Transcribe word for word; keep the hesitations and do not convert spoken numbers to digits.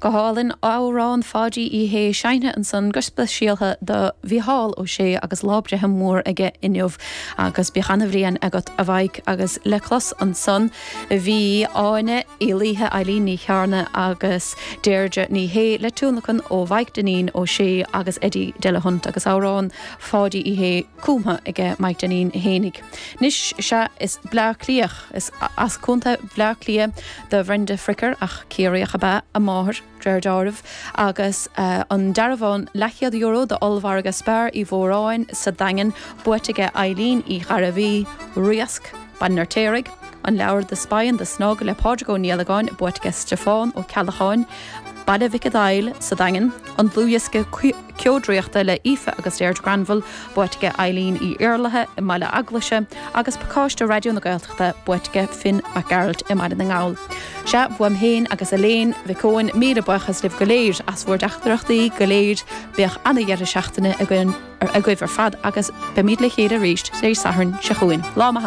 Go hálainn amhrán Pháidí Uí Shé seinnte ansan go speisialta do Mhícheál Ó Sé agus lá breithe mór aige inniu agus bíodh an-bhliain agat a Mhaidhc agus le clos ansan bhí Áine Uí Laoithe Eileen Ní Chearna agus Deirdre Ní Shé le tionlacan ó Mhaidhc Dainín Ó Sé agus Eddie Delahunt agus amhrán Pháidí Uí Shé cumtha aige Mike Dinneen fhéinig. Anois sea is Bleá Cliath is as Contae Bhleá Cliath do Bhrenda Fricker ach Ciarraíoch ab ea a máthair de réir dealraimh agus uh, an dearbhán leathchéad euro d'ollmhargadh Spar Uí Mhóráin sa Daingean buaite ag Eileen Uí Ghairbhí Riasc Baile an Fheirtéaraigh, an leabhar The Spy and the Snug le Pádraig Ó Niallagáin buaite ag Stiofán Ó Ceallacháin, Baile Mhic Daill sa Daingean, an dlúthdhiosca ceodraíochta le Aoife agus Deirdre Granville buaite ag Eileen Uí Iarlaithe i mBaile Eaglaise agus pacáiste Raidió na Gaeltachta buaite ag Finn Mac Gearailt i mBaile na nGall. Sea uaim féin agus Elaine Mhic Eoin míle buíochas libh go léir as bhur dteachtaireachtaí go léir bíodh an-deireadh seachtaine againn agaibh ar fad agus beimid le chéile arís Dé Sathairn seo chugainn. Lá maith